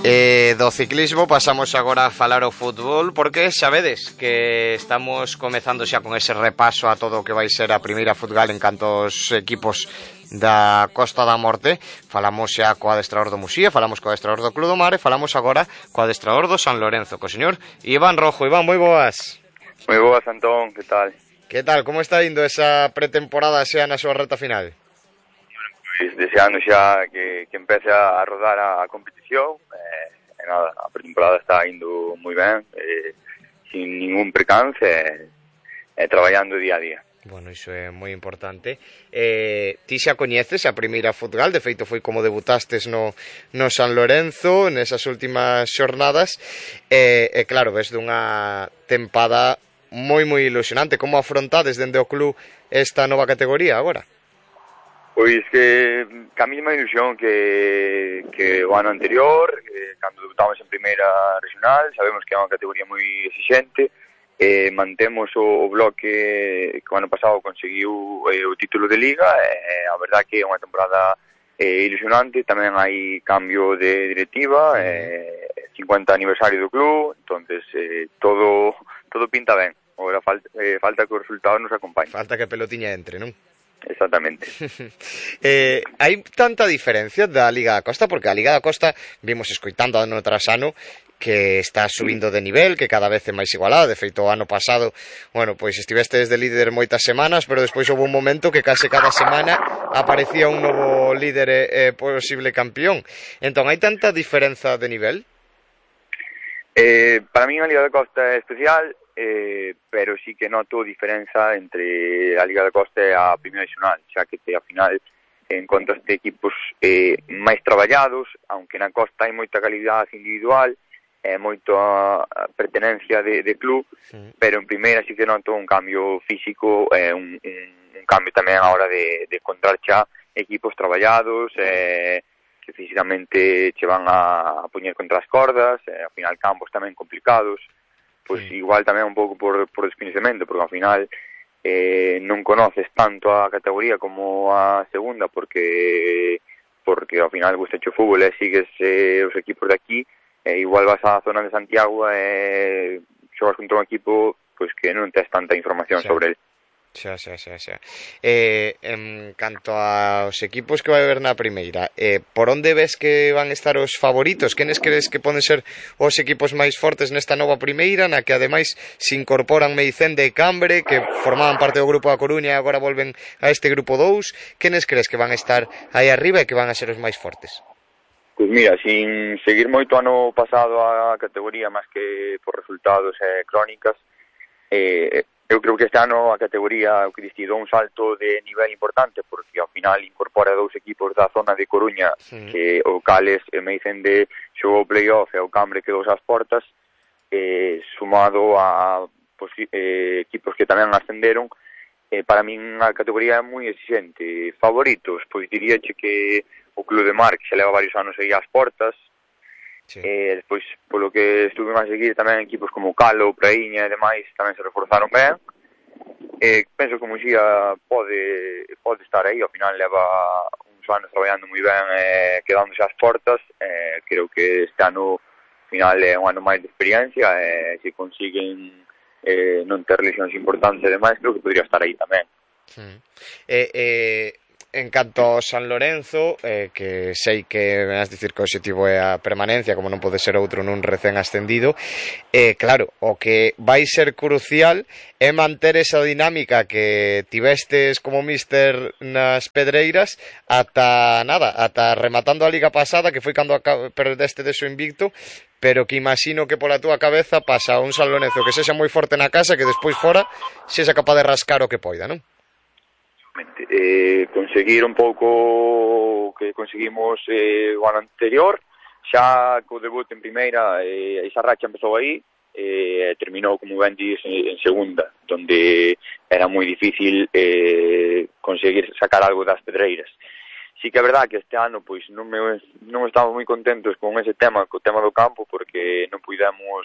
Do ciclismo pasamos agora a falar o fútbol, porque sabedes que estamos comezando xa con ese repaso a todo o que vai ser a primeira futgal en canto aos equipos da Costa da Morte. Falamos xa co adestrador do Muxía, falamos co adestrador do Club do Mar e falamos agora co adestrador do San Lorenzo, co señor Iván Rojo. Iván, moi boas. Moi boas, Antón, que tal? Que tal, como está indo esa pretemporada xa na súa reta final? Pois deseando xa que empece a rodar a competición. Nada, a pretemporada está indo moi ben, sin ningún percance, traballando día a día. Bueno, iso é moi importante. Ti xa coñeces a primeira futgal, de feito foi como debutastes no San Lorenzo nesas últimas xornadas, e claro, ves dunha tempada moi ilusionante. Como afrontades dende o club esta nova categoría agora? Pois que a mesma ilusión que o ano anterior, cando debutamos en primeira regional. Sabemos que é unha categoría moi exigente. Mantemos o bloque que o ano pasado conseguiu o título de Liga. A verdad que é unha temporada ilusionante. Tamén hai cambio de directiva, 50 aniversario do club, entonces todo pinta ben. Agora falta que os resultados nos acompañen. Falta que a pelotiña entre, non? Exactamente. Hai tanta diferencia da Liga da Costa, porque a Liga da Costa vimos escoitando ano tras ano que está subindo de nivel, que cada vez é máis igualada. De feito, o ano pasado, bueno, pois estiveste desde líder moitas semanas, pero despois houve un momento que case cada semana aparecía un novo líder e posible campeón. Entón, hai tanta diferenza de nivel? Para mí a Liga da Costa é especial, pero sí que noto diferenza entre a Liga da Costa e a Primeira Regional, xa que ao final encontras equipos máis traballados, aunque na Costa hai moita calidade individual, moita pertenencia de club, pero en Primeira sí que noto un cambio físico, un cambio tamén a hora de encontrar xa equipos traballados, que físicamente che van a poñer contra as cordas, ao final campos tamén complicados. Pois igual tamén un pouco por descoñecemento, porque ao final non conoces tanto a categoría como a segunda, porque ao final gusta o fútbol e sigues os equipos de aquí, igual vas á zona de Santiago e xogas contra un equipo pois que non tes tanta información sobre ele. Xa. En canto aos equipos que vai haber na primeira, por onde ves que van estar os favoritos? Quenes crees que poden ser os equipos máis fortes nesta nova primeira, na que ademais se incorporan Meicende e Cambre, que formaban parte do grupo da Coruña e agora volven a este grupo 2? Quenes crees que van estar aí arriba e que van a ser os máis fortes? Pois mira, sin seguir moito ano pasado a categoría, máis que por resultados e crónicas, eu creo que este ano a categoría o que destinou un salto de nivel importante, porque ao final incorpora dous equipos da zona de Coruña, que o cales Meicende xogou playoff e o Cambre quedou ás portas, sumado a equipos que tamén ascenderon. Para min a categoría é moi exigente. Favoritos, pois diríache que o Club de Mar, que xa leva varios anos aí ás portas. Despois, polo que estuve a seguir, tamén equipos como Calo, Praíña e demais tamén se reforzaron ben. Penso que o Muxía pode estar aí. Ao final leva uns anos traballando moi ben, quedándose ás portas. Creo que este ano ao final é un ano máis de experiencia, se consiguen non ter lesións importantes e demais, creo que podría estar aí tamén. En canto ao San Lorenzo, que sei que vas dicir que o objetivo é a permanencia, como non pode ser outro nun recén ascendido, claro, o que vai ser crucial é manter esa dinámica que tivestes como míster nas Pedreiras ata rematando a liga pasada, que foi cando perdeste de so invicto, pero que imagino que pola túa cabeza pasa un San Lorenzo que sexa moi forte na casa, que despois fora sexa capaz de rascar o que poida, non? Conseguir un pouco que conseguimos o ano anterior, xa co debut en primeira, esa racha empezou aí, terminou, como ben dis, en segunda, donde era moi difícil conseguir sacar algo das Pedreiras. Sí que é verdad que este ano pois non estamos moi contentos con ese tema, co tema do campo, porque non puidemos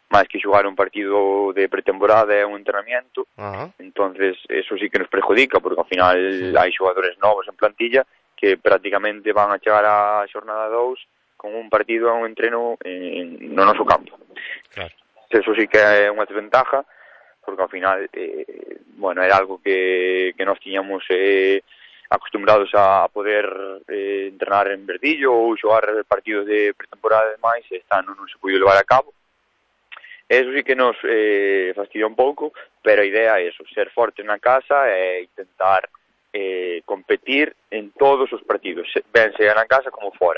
máis que xogar un partido de pretemporada e un entrenamiento. Entonces eso sí que nos perjudica, porque ao final hai xogadores novos en plantilla que prácticamente van a chegar á xornada 2 con un partido a un entreno no noso campo. Claro. Eso sí que é unha desventaja, porque ao final, bueno, era algo que nós tiñamos acostumbrados a poder entrenar en Verdillo ou xogar partidos de pretemporada e demais, e este ano non se puido levar a cabo. Eso sí que nos fastidia un pouco, pero a idea é eso, ser forte na casa e intentar competir en todos os partidos, ben sea na casa como fora.